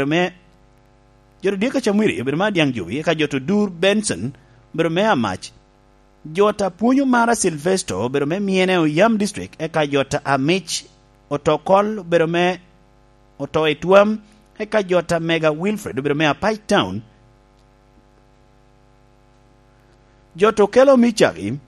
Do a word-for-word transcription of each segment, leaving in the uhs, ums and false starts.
obedo me, jo to Diego Camwiri obedo me Adiaŋ Jowi, eka jo to Dur Benson obedo me Amac. Jo to Apwonyo Mara Silvesto obedo me Myene Oyam District, eka jo to Amic Otokol obedo me Oto i Twam, eka jo to Mega Wilfred obedo me Apac Town. Jo to Kelo Micaki,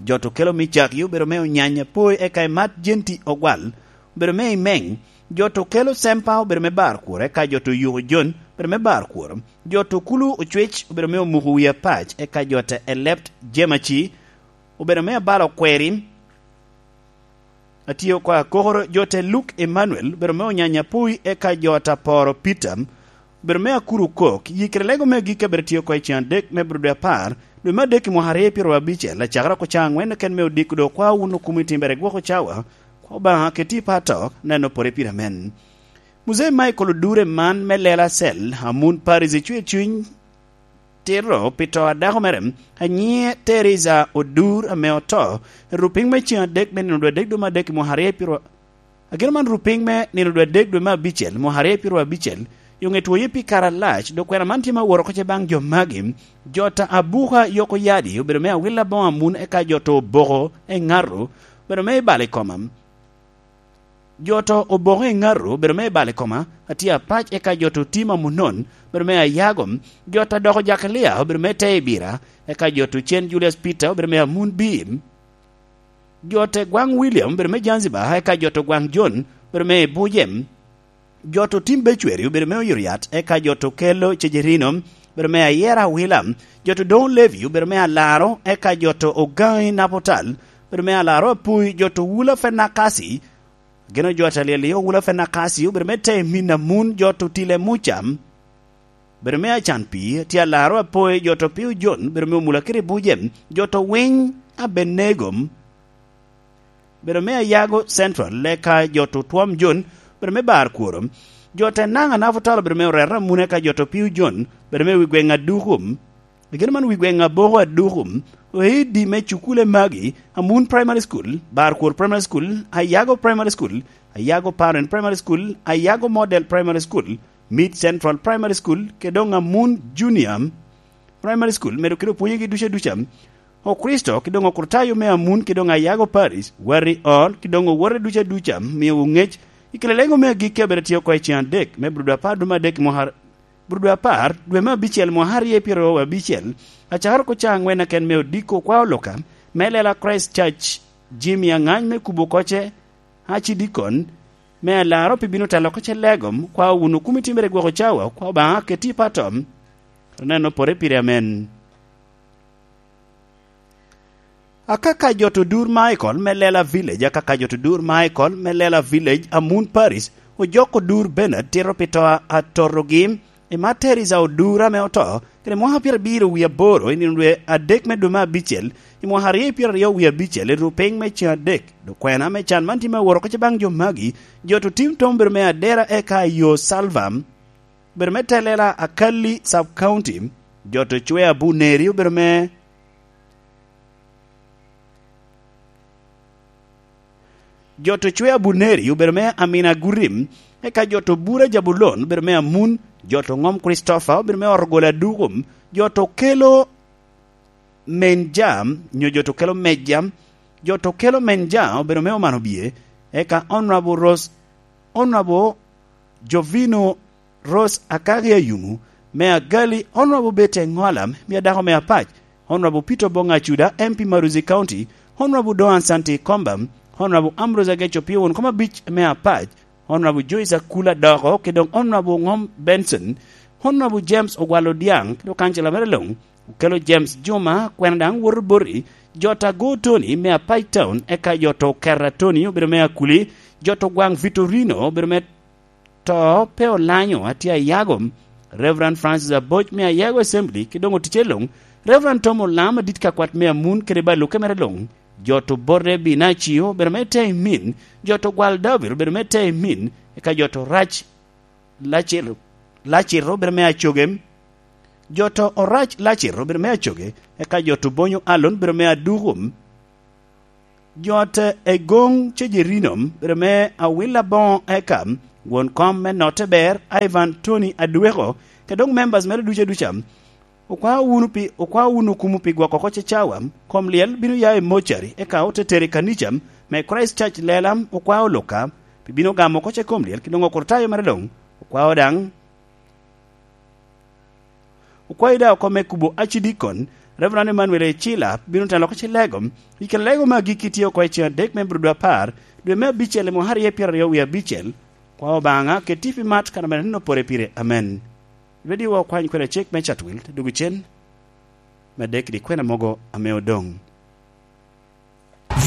jo to Kelo Micaki obedo me Onyanya Poi, eka Imat Jenti Ogwal obedo me Imeng. Jo to Kelo Sempa obedo me Barkwor, eka jo to Yuko Jon obedo me Barkwor. Jo to Kulu Ocwec obedo me Omuko Wi Apac, eka jo to Elept Jemaci obedo me Abalo Kweri. Atye oko akokoro, jo te Luke Emmanuel obedo me Onyanya Poi, eka jo ta Poro Peter obedo me Akuru Kok. Yi kede lego me agikki abedo tye oko i cen adek me Brudu Apar, dwe me adek i mwaka aryo pyero abicel, acakere oko ca angwen ken me odiko do kwa wun okumo i timbere gwoko cawa, kwa Obaŋa keti i pato, neno pore pire amen. Muzei Michael Odure man me Lela Cell, Amun Paris, icwe cuny tito pi to a dako mere, a nyiŋe Teresa Odur, ame oto i rupiny me cen adek me nino dwe adek dwe me adek i mwaka aryo pyero, ageno man rupiny me nino dwe adek dwe me abicel, mwaka aryo pyero abicel, i oŋe twoye pi kare alac, dok kwena man tye ma woro oko ce baŋ jo magi, jo ta Abuka Yoko Yadi obedo me Awila Boŋo Amun, eka jo to Oboko Eŋato obedo me Ibalo i Koma. Jo to Oboko Eŋato obedo me Ibalo i Koma, atye Apac, eka jo to Tim Amunon obedo me Ayago. Jo ta Doko Jakalia obedo me Te Ibira, eka jo to Cen Julius Peter obedo me Amun Bim. Jo te Gwaŋ William obedo me Zanzibar, eka jo to Gwaŋ Jon obedo me Ibujem. Jo to Tim Becweri obedo me Oyoriat, eka jo to Kelo Cejerino obedo me Ayera Awila. Jo to Doŋ Levi obedo me Alaro, eka jo to Ogaŋi Napotal obedo me Alaro Apui. Jo to Wula Fenakasi, geno jo ta Lyelio Wula Fenakasi obedo me Te Min Amun. Jo to Tile Muca obedo me Acan Pii, tye Alaro Apoi. Jo to Pio Jon obedo me Omula kede Bujem. Jo to Winy Abenego obedo me Ayago Central, eka jo to Twom Jon obedo me Bar Kworo. Jo te Naŋ Anafo Talo obedo me Orero Amun, eka jo to Pio Jon obedo me Wi Gweŋ Aduku. Gin man Wi Gweŋ Aboko Aduku, oidi me cukule magi, Amun Primary School, Bar Kwor Primary School, Ayago Primary School, Ayago Parent Primary School, Ayago Model Primary School, Mid Central Primary School, kede doŋ Amun Junior Primary School, medo kede opwonyegi duca duca. Okricito, kede doŋ Okritayo me Amun, kede doŋ Ayago Parish, Wari Ol, kede doŋ owote duca duca, miowu ŋec, i kare lego me agikki abedo tye oko i cen adek, me Brudu Apar dwe me adek i mwaka, Brudu Apar dwe me abicel mwaka aryo pyero abicel, acakere oko ca angwen aken me odiko kwa oloka, me lela Christ Church, Jimmy Aŋany me Kubo Koce, Archdeacon, me Alaro pi bino telo oko ce legom, kwa wunu kumi timere gwoko cawa, kwa Obaŋa keti i pato, neno pore pire amen. Akaka jo to Dur Michael me Lela Village, akaka jo to Dur Michael me Lela Village, Amun Parish, ojoko Dur Bernard tito pi to a totogi, i Materis a Odur ame oto, kede mwaka pyerabiro wie aboro, i nino dwe adek me dwe me abicel, i mwaka aryo pyeraryo wie abicel, i rupiny me cen adek. Dok kwena me can man tye me woro oko ce baŋ jo magi, jo to tim tom bedo me Adera eka i yo Salva, bedo me Telela Akali Sub County, jo to Cwea Buneri obedo me, jo to Cwea Buneri obedo me Amina Gurim, eka jo to Bura Jabulon obedo me Amun, jo to Ŋom Christopher obedo me Orogola Dukum, jo to Kelo Menja, nyo jo to Kelo Meja, jo to Kelo Menja obedo me Omano Bie, eka Honorable Rose, Honorable Jovino Rose Akagi Ayumu, me Agali, Honorable Betty Ŋola, me Adako me Apac, Honorable Peter Bonga Acuda, M P Maruzi County, Honorable Doan Santi Komba, Honorable Ambrose Ageco Piwon, koma abic me Apac, Honorable Joyce Akula Doko, kede doŋ Honorable Ŋom Benson, Honorable James Ogwal Odiaŋ, kede kancila mere luŋ, Okelo James Juma, kwena daŋ woto boti, jo ta Go Tony me Apac Town, eka jo to Kera Tony obedo me Akuli, jo to Gwaŋ Vitorino obedo me to pe olanyo, atye Ayago, Reverend Francis Aboc me Ayago Assembly, ki doŋ oticce luŋ, Reverend Tom Olam adit ka kwat me Amun kede ba luke mere luŋ, jo to Borre Binacio obedo me Te Imin, jo to Gwal David obedo me Te Imin, eka jo to Rac Lacito, Lacito obedo me Acoge, jo to Orac Lacito obedo me Acoge, eka jo to Bonyo Alon obedo me Aduku, jo te Egoŋ Cejerino obedo me Awila Boŋo, eka Won kom me notte ber, Ivan Tony Adweko, kede doŋ members mere ducu aduca, okwao wunu pi, okwao wunu kumo pi gwoko oko Cecawa. Kom lyel bino ya i mocari, eka ote tero i kanica me Christ Church Lela, okwao Luka, pi bino gamo oko ce kom lyel, kede doŋ okurtayo mere doŋ, okwao daŋ. Okwayo daŋ oko me kubo acidikon, Reverend Emmanuel Ecila, bino telo oko ce lego, i kare lego me agikki tye oko i ceŋ adek me bur dwe apar, dwe me abicel i mwaka aryo pyeraryo wie abicel, kwa Obaŋa, keti pi mat kan mere nino pore pire. Amen. Radio wa okwany kwede cik me Chatwil, te dugo cen, me dek kede kwena mogo ame odoŋ.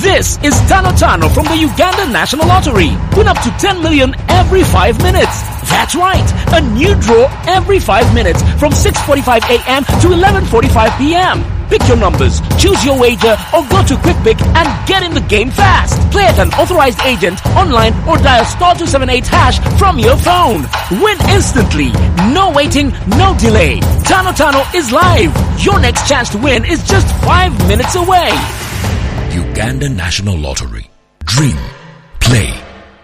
This is Tano Tano from the Uganda National Lottery. Win up to ten million every five minutes. That's right, a new draw every five minutes from six forty-five a m to eleven forty-five p m. Pick your numbers, choose your wager, or go to QuickPick and get in the game fast. Play at an authorized agent, online, or dial star two seven eight hash from your phone. Win instantly. No waiting, no delay. Tano Tano is live. Your next chance to win is just five minutes away. Uganda National Lottery. Dream, play,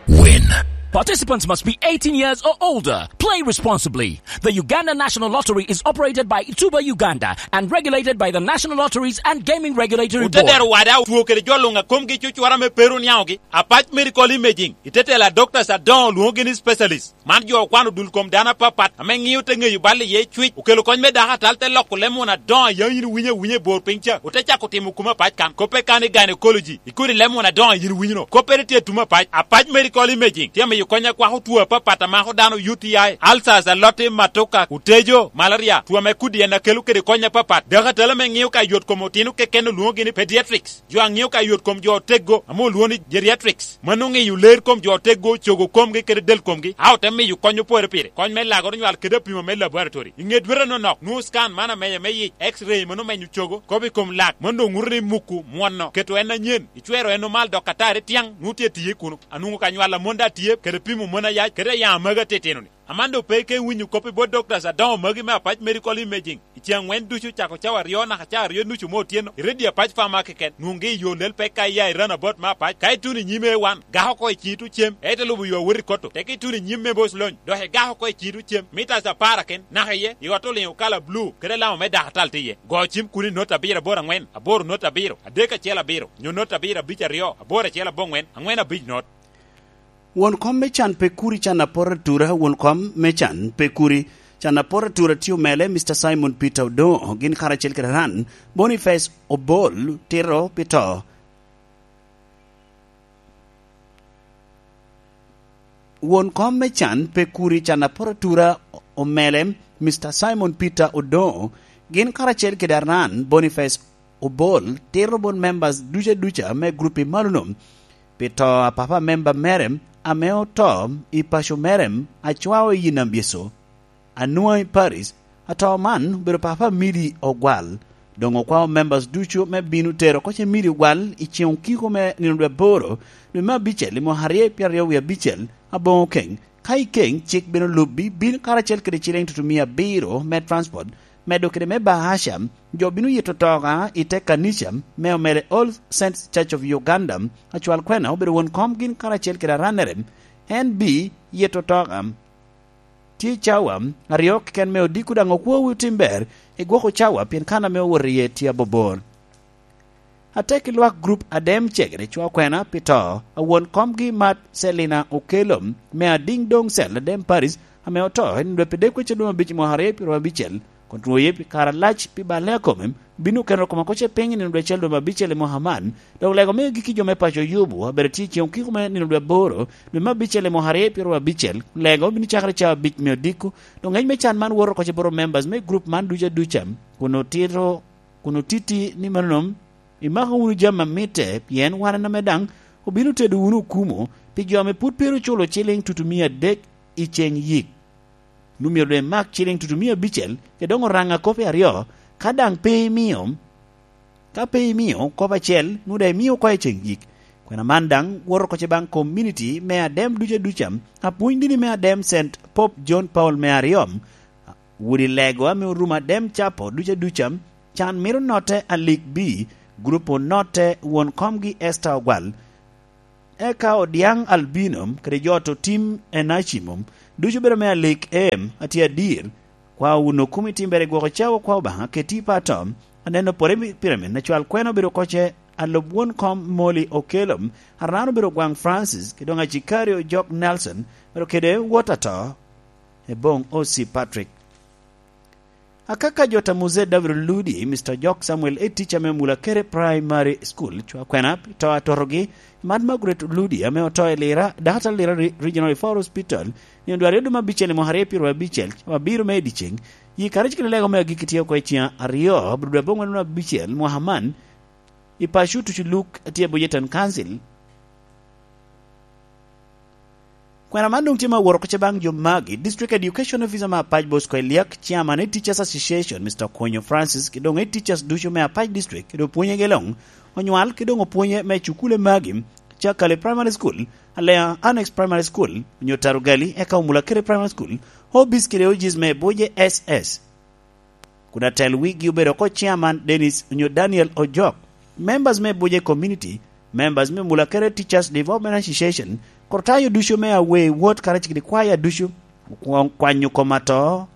win. Participants must be eighteen years or older. Play responsibly. The Uganda National Lottery is operated by Tuba Uganda and regulated by the National Lotteries and Gaming Regulatory Board. Otedero wada otwo kede jo luŋ a komgi cucwara me peru niaŋogi. Apac Medical Imaging, itetela doctors adoŋo lwoŋogi ni specialist. Man jo okwano dul kom dano apapat ame ŋio te ŋeyo bal iye cwic, okelo kony me dako atal, te loko leb muna adoŋo a yaŋ yin iwinyo awinya i bor piny ca, ote cako timo kumo apac kan. Koppe kan i gynecology, i kodi leb muna adoŋo a yin iwinyo no. Koppere tye tumo apac. Apac Medical Imaging tye amiyo kony akwako two apapat a mako dano, U T I, ulcers, aloti, matoka, otejo, malaria, two ame kodi en akelo kede kony apapat. Dako atal ame ŋio ka yot kom otino keken olwoŋogi ni pediatrics. Jo a ŋio ka yot kom jo oteggo ame olwoŋo ni geriatrics. Mano ŋeyo ler kom jo oteggo, cogo komgi kede del komgi, a ote miyo kony opore pire. Kony me lagoro nywal kede apimo me laboratory. I ŋe dwete nonok, nwoŋo scan man amenya me yic, X-ray mano menyo cogo, kop i kom lak, mano doŋ ŋuto ni muku, mwono, keto en anyen, icwero en omal dok atari tiaŋ, nwoŋo tye tiye kuno. Anwoŋo ka nywal amon daŋ tye, kede pimo mon ayac, kede ayaŋ amagi atitino-ni. Aman doŋ pe ike winyo kop i bot doctors adoŋo magi me Apac Medical Imaging. I ceŋ aŋwen ducu, cako cawa aryo naka cawa aryo nucu me otyeno, i redio Apac Pharma keken, nwoŋgi i yo lel pek ka iya i roundabout me Apac. Ka ituno i nyim A one, gak oko i ciŋi tuŋ cem, ite lubo yo awot i koto. Teke ituno i nyim me Boss Lony, dok igak oko i ciŋi tuŋ cem, mitas apar aken, naka iye, i ot oliŋo kala bulu, kede alama me dakatal tye iye. Go cim kun i not abiro aboro aŋwen, aboro not abiro, adek acel abiro, nyo not abiro abic aryo, aboro acel aboŋwen, aŋwen abic not. Won kom me can pe kuri can apor atura, won kom me can pe kuri can apor atura tye omele, Mister Simon Peter Odongo, gin karacel kede Ran Boniface Obol, tito pi to. Won kom me can pe kuri can apor atura omele, Mister Simon Peter Odongo, gin karacel kede Ran Boniface Obol, tito bot members duca duca me grup i malo-nu, pi to a papa member mere ame oto i paco mere, acwao i Yinam Yecu, Anuai Paris. Ato man obedo papa Mili Ogwal. Doŋ okwao members ducu me bino tero oko ce Mili Ogwal i ceŋ okiko me nino dwe aboro, dwe me abicel, i mwaka aryo pyeraryo wie abicel, aboŋo keny. Ka i keny, cik bino lubbi, bin karacel kede ciliŋ tutumia abiro me transport, medo kede me bahasha. Jo bino yito toka i te kanica me omele All Saints Church of Uganda. Acwal kwena obedo won kom gin karacel kede aranere. En bi yito toka. Tye cawa aryo keken me odiko, daŋ okwowu tim ber igwoko cawa, pien kan ame owoto iye tye abobor. Atek i lwak grup Adem Cegere Cwa Kwena pi to a won komgi Mat Selina Okelo, me Adiŋ Doŋ Cel Adem Paris, ame oto i nino dwe pi dek wecel dwe me abic i mwaka aryo pyeraryo abicel, kun rwoye pi kare alac pi balle a kome, obin okeno kome oko ce piny i nino dwe acel dwe me abicel i mwaka man, dok lego me agikki jo me paco Yubu abedo tye i ceŋ okiko me nino dwe aboro dwe me abicel i mwaka aryo pyeraryo abicel, lego obin cakere cawa abic me odiko, dok ŋec me can man woto oko ce bot members me grup man ducu aduca, kun otito kun otiti ni mano, imako wunu jami a mitte, pien wan en ame daŋ obino tedo wunu okumo pi jo ame pwod pe ru culo ciliŋ tutumia adek i ceŋ yik. Nu myero doŋ imak ciliŋ tutumia abicel, kede doŋ oraŋa kop i aryo, ka daŋ pe imio, ka pe imio kop acel, nu daŋ imio oko i ceŋ yik. Kwena man daŋ woto oko ce baŋ kominiti me Adem ducu aduca, apwony dini me Adem Saint Pope John Paul me aryo, Wudi Lego ame orumo Adem Capo ducu aduca, can mito notte alik bi, grup onotte won komgi Esther Ogwal. eka Odiaŋ Albino kede jo oto tim Enacimum, ducu bedo me alik em, atye adir, kwa wun okumi timbere gwoko cawa kwa Obaŋa keti i pato, aneno pore pire min acwal kwena obedo koce, alub won kom Molly Okello, Arano obedo gwaŋ Francis, kede doŋ acikari ojok Nelson, bedo kede wot ato, Eboŋ O C Patrick. Akaka jo ta Muse David Ludi, Mister Jok Samuel, e tica me Mulakere Primary School, cwa kwena pi to atotogi, Mad Margaret Ludi, ame oto i Lira, daktar Lira Re-, Regional Referral Hospital, nino dwe aryo dwe me abicel i mwaka aryo pyero abicel, wa biro me i dyeceng, yi kare cikere lego me agikki tye oko i ceng aryo, abiro dwe aboŋwen dwe me abicel, mwaka man, i paco tucu Luk, atye i Bujetan Council. Kwena man doŋ tye ma woro koce baŋ jo magi, District Education Officer me Apac Bosco Eliak, Chairman i Teachers Association, Mister Konyo Francis, ki doŋ i teachers ducu me Apac District, kede opwonyege luŋ, onywal ki doŋ opwonye me cukule magi, Cakali Primary School, Alea Annex Primary School, onyo Tarugali, eka Omulakere Primary School, Hobbies kede O Gs me Buje S S. Kun atel wigi obedo oko Chairman Dennis onyo Daniel Ojok, members me Buje Community, members me Mulakere Teachers Development Association, kor tayo ducu me Awei Wot karacel kede kwaya ducu, okwo-, kwanyo kom ato,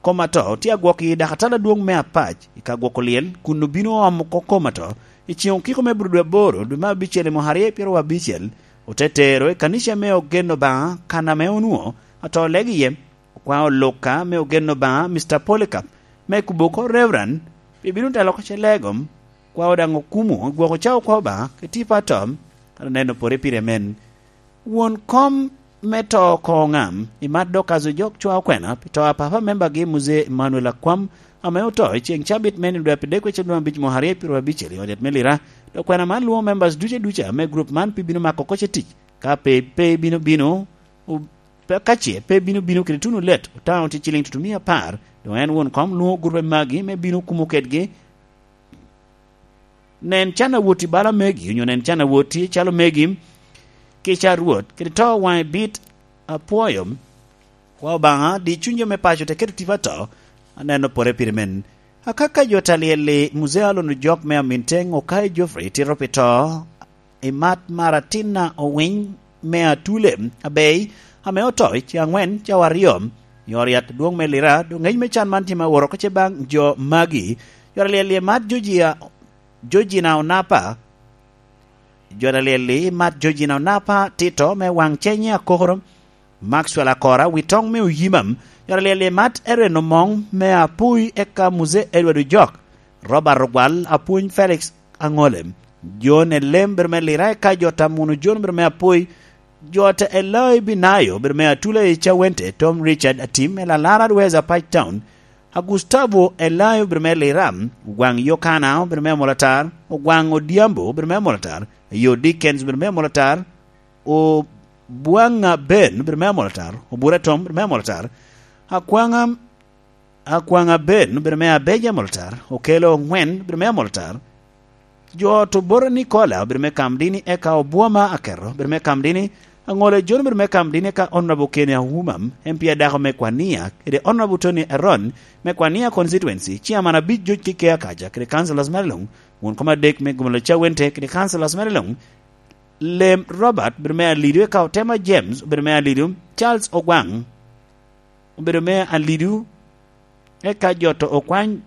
kom ato tye agwok i dakatala adwoŋ me Apac i ka gwoko lyel, kun obino omo oko kom ato i ceŋ okiko me bur dwe aboro, dwe me abicel i mwaka aryo pyero abicel, ote tero i kanica me Ogen Obaŋa, kan ame onwoŋo ato lego iye, okwaŋ oluka me Ogen Obaŋa, Mister Polycarp, me kubo oko Reverend, pi bino telo oko ce legom, kwa daŋ okumo, gwoko cawa kwa Obaŋa, kede tipo atom, kara neno pore pire men. Won kom me to oko ŋam, i mat dok azo jok cwa okwena, pi to a papa membagi Muzee Emmanuel Akwam, ame oto i ceŋ cabit me nino dwe apar dek wecen dwe abic mwaka aryo pyero abicel i ot yat me Lira, dok kwena man lwoŋo members duce duca me group man pi bino mako oko ce tic, ka pe, pe bino bino, o-, pe, ka ce pe bino bino kede tuno let, otaŋo tye ciliŋ tutumia apar, doŋ en won kom lwoŋo gurupe magi me bino kumo kedgi. Nen can awot i bala megi, onyo nen can awot i calo megi, kica a Rwot, kede to waŋe bit apwoyo. Kwa Obaŋa, di cuny jo me paco te keto tipo ato, aneno pore pire men. Akaka jo ta lyel-li, Muzee Alon Ojok me Aminteng, Okai Geoffrey, tito pi to, i mat mar atinna Owiny me Atule, Abei, ame oto i ce aŋwen cawa aryo, i ot yat adwoŋ me Lira, doŋ ngec me can man tye ma woro oko ce baŋ jo magi. Jo ta lyel-li, i mat Georgia, Georgina Onapa, jo ta lyel-li, i mat Georgina Onapa, tito me waŋ cenye akokoro, Maxwell Akora, wi toŋ me Oyimam, jo ta lyel-li, i mat Eren Omoŋ me Apui, eka Muzee Edward Ojok, Robert Ogwal, Apwony Felix Aŋole, John Elem, bedo me Lira, eka jo ta Muno John, bedo me Apui, jo ta Elai Binayo, bedo me Atula i Cawente, Tom Richard Atim, Elalara Dweza Pac Town, a Gustavo Elayo, bedo me Lira, Ogwaŋ Yokana, bedo me Amolatar, Ogwaŋ Odhiambo, bedo me Amolatar, Ayo Dickens, bedo me Amolatar, Obwaŋa Ben, bedo me Amolatar, Obura Tom, bedo me Amolatar, Akwaŋa, Akwaŋa Ben, bedo me Abeja Amolatar, Okelo Oŋwen, bedo me Amolatar, jo ot Obora Nikola, bedo me Kamdini, eka Obwoma Aketo, bedo me Kamdini, Aŋola John, bedo me Kamdini, eka Honorable Kenny Auma, M P adako me Kwania, kede Honorable Tony Eron, me Kwania Constituency, Chairman abic George Kikea Kaja, kede councillors mere luŋ, won kom adek me Gomolo Cawente, kede councillors mere luŋ, Lem Robert, bedo me Alidu, eka Otema James, bedo me Alidu, Charles Ogwaŋ, obedo me Alidu, eka jo to Okwany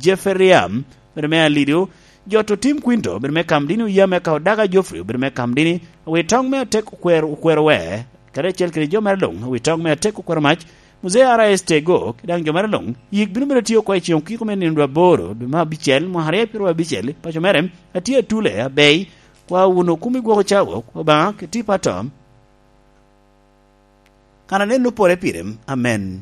Jeffrey Riam, obedo me Alidu, jo to Tim Quinto, obedo me Kamdini Oyam, eka Odaga Geoffrey, obedo me Kamdini, awi toŋ me atek okwero, okwero we, kadi acel kede jo mere luŋ, awi toŋ me atek okwero mac, Muzee R S Tego, ki daŋ jo mere luŋ, yik bino bedo tye oko i ceŋ okiko me nino dwe aboro, dwe me abicel, mwaka aryo pyero abicel, paco mere, atye Atule, Abei, kwa wun okumi gwoko cawa, Obaŋa, kede tipo atom. Kan aneno pore pire, amen.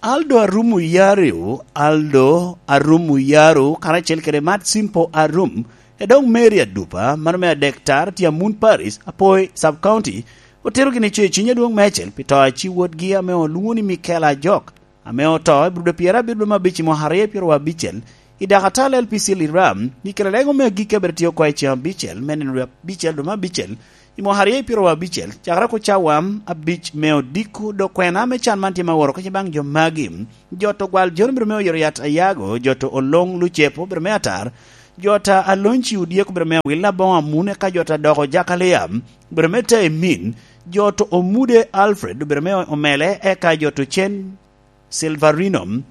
Aldo Arum Oyariu, Aldo Arum Oyariu, karacel kede Mat Simpo Arum, e dok Mary Adupa, mano me adek tar, tye Amun Paris, Apoi Sub County, otero gini co i ciny adwoŋ mecel pi to a ci wotgi ame olwoŋo ni Mikel Ajok, ame oto i Brudo pyerabiro me abic i mwaka aryo pyerabicel, i Dakatal L P C Liram, ni kela lego me agikki abiro tye oko i ceŋ abicel, me nino abicel dwe me abicel, I mwaka aryo i pyeraryo abicel, cakere oko cawa abic me odiko, dok kwena me can man tye ma woro kece baŋ jo magi. Jot ogwal John obedo me oyero yat Ayago, jot oloŋ Lucepo obedo me atar, jot a Alonci Odyek obedo me awila boŋo amun, eka jot adoko Jakalia obedo me te emin, jot omude Alfred obedo me omele, eka jot ocen Silverino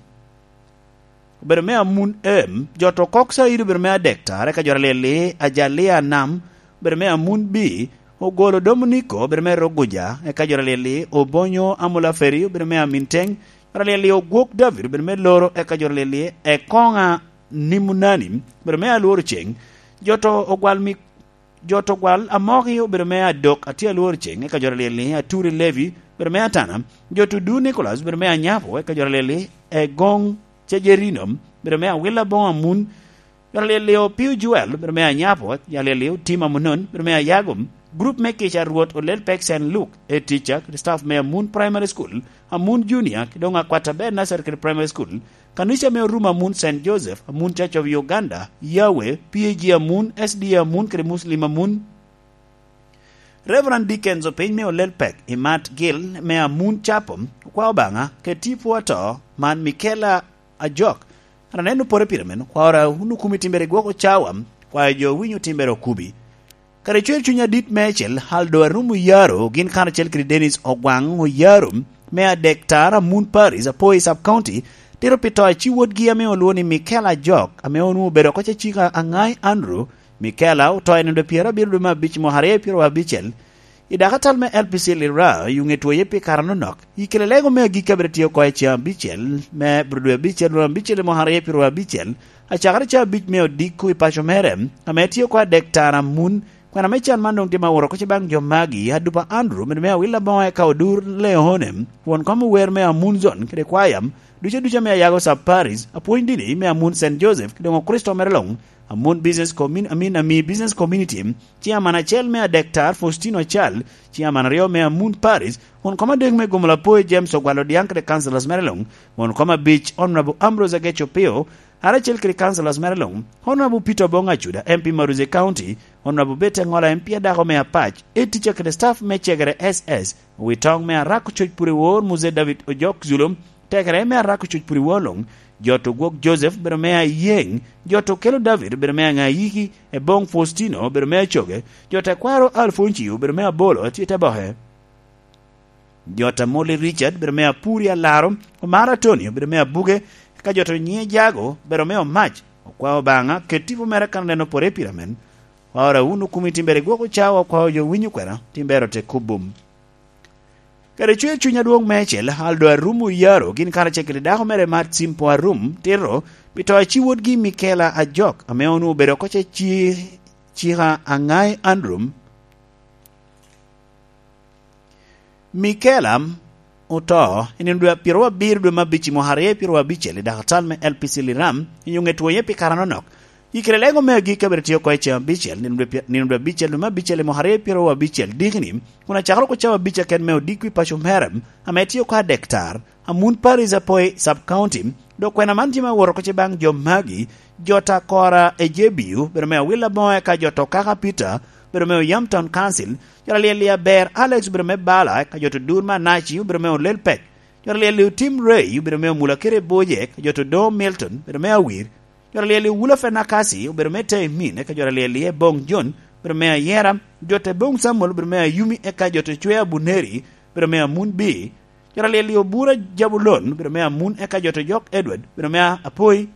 obedo me amun em, jot okok Said obedo me adektar, eka jot alyel-li Ajalia Nam obedo me amun bi, ogolo Dominiko obedo me roguja, eka jot alyel-li Obonyo Amulaferi obedo me amin teŋ, jot alyel-li Ogwok David obedo me loro, eka jot alyel-li Ekoŋa Nimunani obedo me alworo ceŋ, jot ogwal mi Jot ogwal Amoki obedo me adok, atye alworo ceŋ, eka jot alyel-li Aturi Levi obedo me atana, jot odu Nicolas obedo me anyapo, eka jot alyel-li Egoŋ Cejerino obedo me awila boŋo amun, jot alyel-li Opio Joel obedo me anyapo, jot alyel-li Otim Amunon obedo me ayago. Grup me kica Rwot olel pek Saint Luke, Etica, kede staff me Amun Primary School, Amun Junior, kede doŋ Akwat Aber Nursery kede Primary School, Kanica me Orumo Amun Saint Joseph, Amun Church of Uganda, Yahweh, P A G Amun, S D A Amun, kede Muslim Amun. Reverend Dickens opiny me olel pek i Mat Gil me Amun Chapo, okwa Obaŋa, keti pwo ato, man Michaela Ajok. An aneno pore pire men, kwara wun okumi timbere gwoko cawa, kwayo jo winyo timbere okubi. Kare cwer cuny adit meicel, Aldo Arum Oyaro, gin karacel kede Dennis Ogwaŋ Oyaro, me adek tar Amun Paris, Apoi Sub County, tito pi to a ci wotgi ame olwoŋo ni Michael Ajok, ame onwoŋo obedo oko cecika Aŋai Andrew. Michaela oto i nino pyerabiro dwe me abic mwaka aryo pyeraryo abicel, i dakatal me L P C Lira, i ŋe twoye pi kare anonok. I kare lego me agikki abiro tye oko i ceŋ abicel me dwe abicel, dwe abicel i mwaka aryo pyeraryo abicel, acakere ceŋ abic me odiko i paco mere, ame tye oko adek tar Amun, kwena me can man doŋ tye ma woro oko ce baŋ jo magi, Adupa Andrew, obedo me awil aboŋo eka Odur Leone, won kom ower me Amun Zone kede kwaya, ducu aduca me Ayago Sub Paris, apwony dini me Amun Saint Joseph, kede doŋ Okricito mere luŋ, Amun Business Commun-, I mean, Ami Business Community, Chairman acel me adek tar Faustino Acal, Chairman aryo me Amun Paris, won kom adek me Gomola Apoi James Ogwal Odiaŋ kede councillors mere luŋ, won kom abic Honorable Ambrose Ageco Pio, Ara acel kede councillors mere luŋ, Honorable Peter Obong Acuda, M P Maruzi County, Honorable Betty Aŋola, M P adako me Apac, Etica kede staff me Cegere S S, Owitoŋ me Arako Coc Puriwor, Muzee David Ojok Zulum, Tekere me Arako Coc Puriwor luŋ, Jot Ogwok Joseph, obedo me Ayeŋ, Jot Okelo David, obedo me Aŋayiki, Ebong Faustino, obedo me Acoge, Jot Akwaro Alfoncio, obedo me Abolo, atye te boke. Jot Amoli Richard, obedo me Apuri Alaro, Omar Atoni, obedo me Abuge, eka Jot Onyiŋe Jago, obedo me Omac, okwao Obaŋa, ket tipo mere kan oneno pore pire men. Kwao ra wun okumi timbere gwok ocawa, okwao jo winyo kwena, timbere ote kubum. Kede cwer cuny adwoŋ meicel, Aldo Arum Oyaro, gin karacel kede dako mere Mat Simpo Arum, tito, pi to a ci wotgi Michaela Ajok, ame onwoŋo obedo oko ce ci-, cika Aŋai Andrew. Michaela oto i nino dwe pyeraryo abiro dwe me abic i mwaka aryo pyeraryo abicel i dakatal me L P C Liram, i nyoŋe twoye pi kare anonok. I kare lego me agikki abiro tye oko i ceŋ abicel, nino dwe pye-, nino dwe abicel dwe me abicel i mwaka aryo pyeraryo abicel dikini, kun acakere oko cawa abic aken me odiko i paco mere, ame tye oko adek tar, Amun Paris Apoi Sub County, dok kwena man tye ma woro oko ce baŋ jo magi, Jot Akora Ejebiu, obedo me Awil Aboŋo, eka Jot Okaka Peter, obedo me Oyam Town Council, Jot Alyel Aber Alex, obedo me Bala, eka Jot Odur Manaci, obedo me Olel Pek, Jot Alyel Otim Ray, obedo me Omula Kere Boje, eka Jot Odoŋo Milton, obedo me Awir, Jot Alyel Owula Fenakasi, obedo me Teimin, eka Jot Alyel Ebong John, obedo me Ayera, Jot Ebong Samuel, obedo me Ayumi, eka Jot Ocwe Abuneri, obedo me Amun Bi, Jot Alyel Obura Jabulon, obedo me Amun, eka Jot Ojok Edward, obedo me Apoi,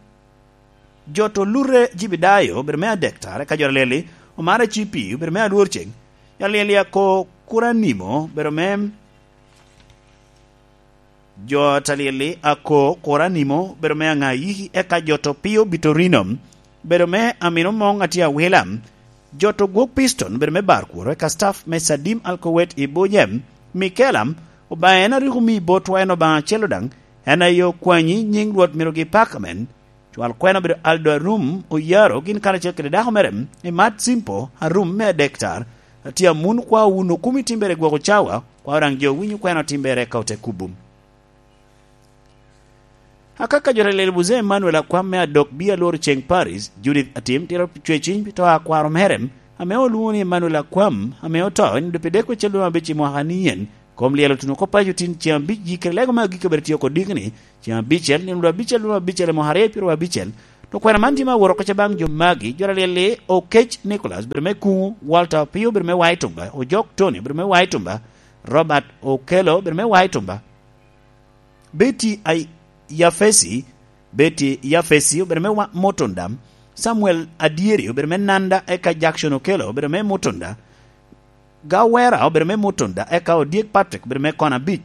Jot Olure Jibidayo, obedo me Adektar, eka Jot Alyel Omara Cipi, obedo me Alwor Ceng, Jot Alyel Ako Kuranimo, obedo me Jot Alyel Ako Kuranimo, obedo me Aŋayiki, eka Jot Opio Bitorino, obedo me Amino Moŋ Atye Awila, Jot Ogwok Piston, obedo me Barkworo, eka staff me Sadim Alkowet i Bojem, Michaela, Obaŋa en a rik omi botwa en Obaŋa acel daŋ, en aye okwanyi, nyiŋ Rwot myero gipakamen. Cwal kwena obedo Aldo Arum Oyaro, gin karacel kede dako mere, Imat Simpo Arum me Adektar, atye Amun, kwao wun okumi timbere gwoko cawa, kwao daŋ jo winyo kwena otimbere ka ote kubo. Akaka Jot Alyel Buze Emmanuel Akwam me Adok Bi Alworo Ceng Paris, Judith Atim tito cweciny pi to a kwaro mere, ame olwoŋo ni Emmanuel Akwam, ame oto i nino pi dek wecel dwe me abic i mwaka ni yen. Kom lyel otuno oko paco tin ceŋ abic gi kede lego me agikki obedo tye oko dikni, ceŋ abicel, nino dwe abicel dwe me abicel i mwaka aryo pyeraryo abicel. Okwena man tye me awot oko ca baŋ jo magi, jo alyel-li: Okec Nicholas, obedo me Kuŋu; Walter Opio, obedo me Waitumba; Ojok Tony, obedo me Waitumba; Robert Okello, obedo me Waitumba; Betty Ay-, Yafesi, Betty Yafesi, obedo me Wa-, Mutunda; Samuel Adyeri, obedo me Nanda, eka Jackson Okello, obedo me Mutunda; Gawera, obedo me Mutunda, eka Odyek Patrick, obedo me kona abic;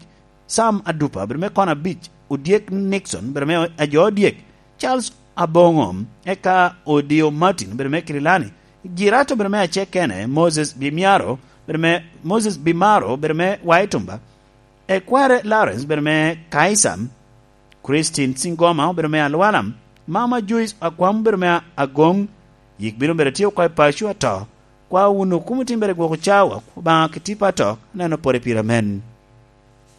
Sam Adupa, obedo me kona abic; Odyek Nixon, obedo me ajo Odyek; Charles Aboŋo, eka Odio Martin, obedo me Kirilani; Girato, obedo me Acekene; Moses Bimiaro, obedo me, Moses Bimaro, obedo me Waitumba; Ekware Lawrence, obedo me Kaisam; Christine Singoma, obedo me Alwalam; Mama Joyce Akwam, obedo me Agoŋ. Yik bino bedo tye oko i paco ato. Kwa wunu kumo timbere gwoko cawa, Obaŋa ki tipo ato, neno pore pire amen.